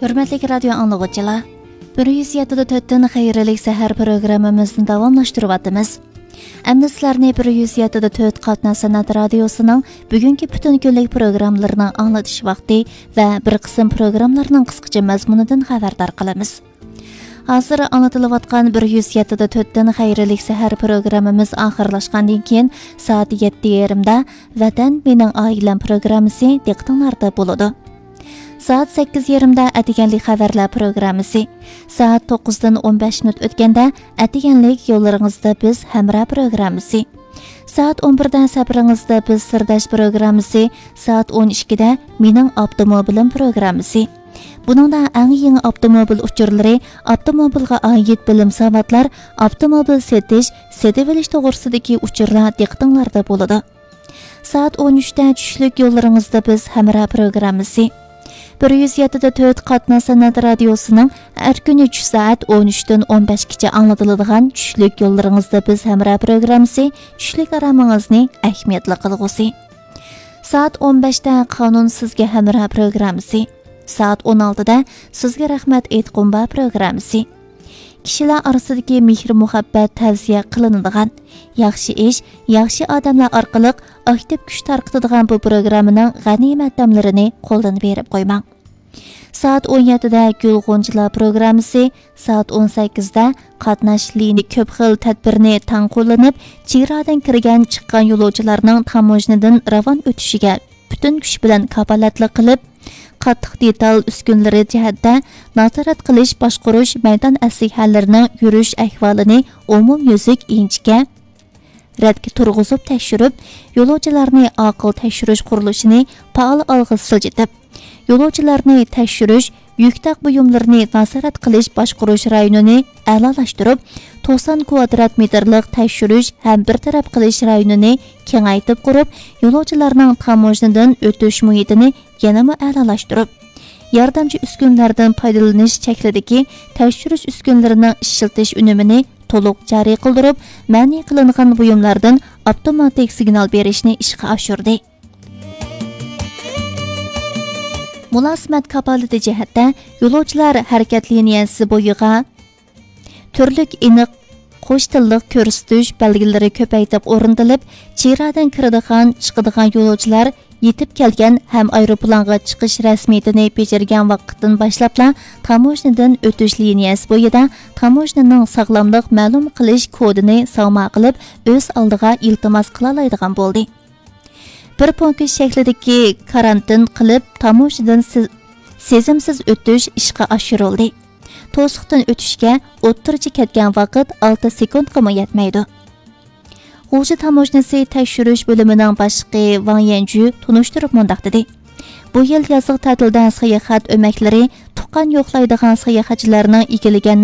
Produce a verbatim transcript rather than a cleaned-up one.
ھۆرمەتلىك رادىيو ئاڭلىغۇچىلار، بىر يۈز يەتتە دە تۆتتىن خەيرلىك سەھەر پروگراممىمىزنى داۋاملاشتۇرۇۋاتىمىز. ئەمدى سىلەرنى بىر يۈز يەتتە دە تۆت قاتناش سەنئەت رادىيوسىنىڭ بۈگۈنكى پۈتۈن كۈنلۈك پروگراممىلىرىنىڭ ئاڭلىتىش ۋاقتى ۋە بىر قىسىم پروگراملارنىڭ قىسقىچە مەزمۇنىدىن خەۋەردار قىلىمىز. ھازىر ئاڭلىتىلىۋاتقان بىر يۈز يەتتە دە تۆتتىن خەيرلىك سەھەر پروگراممىمىز ئاخىرلاشقاندىن كېيىن، سائەت يەتتە يېرىمدا ۋەتەن مېنىڭ ئائىلەم پروگراممىسى دىققىتىڭلاردا بولىدۇ. سائەت سەككىز يېرىمدا ئەتىگەنلىك خەۋەرلەر پروگراممىسى، سائەت توققۇزدىن ئون بەش مىنۇت ئۆتكەندە ئەتىگەنلىك يوللىرىڭىزدا بىز ھەمراھ پروگراممىسى، سائەت ئون بىردە سەپىرىڭىزدە بىز سىرداش پروگراممىسى، سائەت ئون ئىككىدە مېنىڭ ئاپتوموبىلىم پروگراممىسى. بۇنىڭدا ئەڭ يېڭى ئاپتوموبىل ئۇچۇرلىرى، ئاپتوموبىلغا ئائىت بىلىم ساۋاتلار، ئاپتوموبىل سېتىش، سېتىۋېلىش توغرىسىدىكى ئۇچۇرلار دىققىتىڭلاردا بولىدۇ. سائەت ئون ئۈچتە چۈشلۈك يوللىرىڭىزدا بىز ھەمراھ پروگراممىسى. بىر يۈز يەتتە دە تۆت قاتناش سەنئەت رادىيوسىنىڭ ھەر كۈنى چۈش سائەت ئون ئۈچتىن ئون بەشكىچە ئاڭلىتىلىدىغان چۈشلۈك يوللىرىڭىزدا بىز ھەمراھ پروگراممىسى، چۈشلۈك ئارامىڭىزنى ئەھمىيەتلىك قىلغۇسى. سائەت ئون بەشتە قانۇن سىزگە ھەمراھ پروگراممىسى. سائەت ئون ئالتىدە سىزگە رەھمەت ئېيتقۇم بار پروگراممىسى. كىشىلەر ئارىسىدىكى مېھىر-مۇھەببەت تەۋسىيە قىلىنىدىغان، ياخشى ئىش، ياخشى ئادەملەر ئارقىلىق ئاكتىپ كۈچ تارقىتىدىغان بۇ پروگراممىنىڭ غەنىيمەت دەملىرىنى قولدىن بېرىپ قويماڭ. سائەت ئون يەتتىدە گۈل غۇنچىلار پروگراممىسى، سائەت ئون سەككىزدە قاتناش لىنى كۆپ خىل تەدبىرنى تەڭ قوللىنىپ، چېگرادىن كىرگەن، چىققان يولۇچىلارنىڭ تاموژنىدىن راۋان ئۆتۈشىگە پۈتۈن كۈچ بىلەن كاپالەتلىك قىلىپ، قاتتىق دېتال ئۈسكۈنىلىرى جەھەتتە نازارەت قىلىش، باشقۇرۇش، مەيدان ئەسلىھەلىرىنىڭ يۈرۈش ئەھۋالىنى ئومۇميۈزلۈك ئىنچىكە رەتكە تۇرغۇزۇپ تەكشۈرۈپ، يولۇچىلارنى ئاقىل تەكشۈرۈش قۇرۇلۇشىنى پائال ئالغا سىلجىتىپ، يولۇچىلارنى تەكشۈرۈش، يۈك تاق بۇيۇملىرىنى نازارەت قىلىش باشقۇرۇش رايونىنى ئەلالاشتۇرۇپ، توقسان كۋادرات مېتىرلىق تەكشۈرۈش ھەم بىر تەرەپ قىلىش رايونىنى كېڭەيتىپ قۇرۇپ، يولۇچىلارنىڭ تاموژنىدىن ئۆتۈش مۇھىتىنى يەنىمۇ ئەلالاشتۇرۇپ، ياردەمچى ئۈسكۈنىلەردىن پايدىلىنىش شەكلىدىكى تەكشۈرۈش ئۈسكۈنىلىرىنىڭ ئىشلىتىش ئۈنۈمىنى تولۇق جارى قىلدۇرۇپ، مەنئى قىلىنغان بۇيۇملاردىن ئاپتوماتىك سىگنال بېرىشنى ئىشقا ئاشۇردى. مۇلازىمەت كاپالىتى جەھەتتە يولۇچىلار ھەرىكەت لىنىيەسى بويىغا تۈرلۈك ئېنىق قوش تىللىق كۆرسىتىش بەلگىلىرى كۆپەيتىپ ئورنىتىلىپ، چېگرادىن كىرىدىغان، چىقىدىغان يولۇچىلار يېتىپ كەلگەن ھەم ئايروپىلانغا چىقىش رەسمىيىتىنى بېجىرگەن ۋاقىتتىن باشلاپلا تاموژنىدىن ئۆتۈش لىنىيەسى بويىدا تاموژنىنىڭ ساغلاملىق مەلۇم قىلىش كودىنى ساڭما قىلىپ، ئۆز ئالدىغا ئىلتىماس قىلالايدىغان بولدى. بىر پونكىت شەكلىدىكى كارانتىن قىلىپ، تاموژنىدىن سىز-، سېزىمسىز ئۆتۈش ئىشقا ئاشۇرۇلدى. توسۇقتىن ئۆتۈشكە ئوتتۇرىچە كەتكەن ۋاقىت ئالتە سېكۇنتقىمۇ يەتمەيدۇ. غۇلجا تاموژنىسى تەكشۈرۈش بۆلۈمىنىڭ باشلىقى ۋاڭ يەنجۈ تونۇشتۇرۇپ مۇنداق دېدى: بۇ يىل يازلىق تەتىلدە ساياھەت ئۆمەكلىرى تۇغقان يوقلايدىغان ساياھەتچىلەرنىڭ ئىگىلىگەن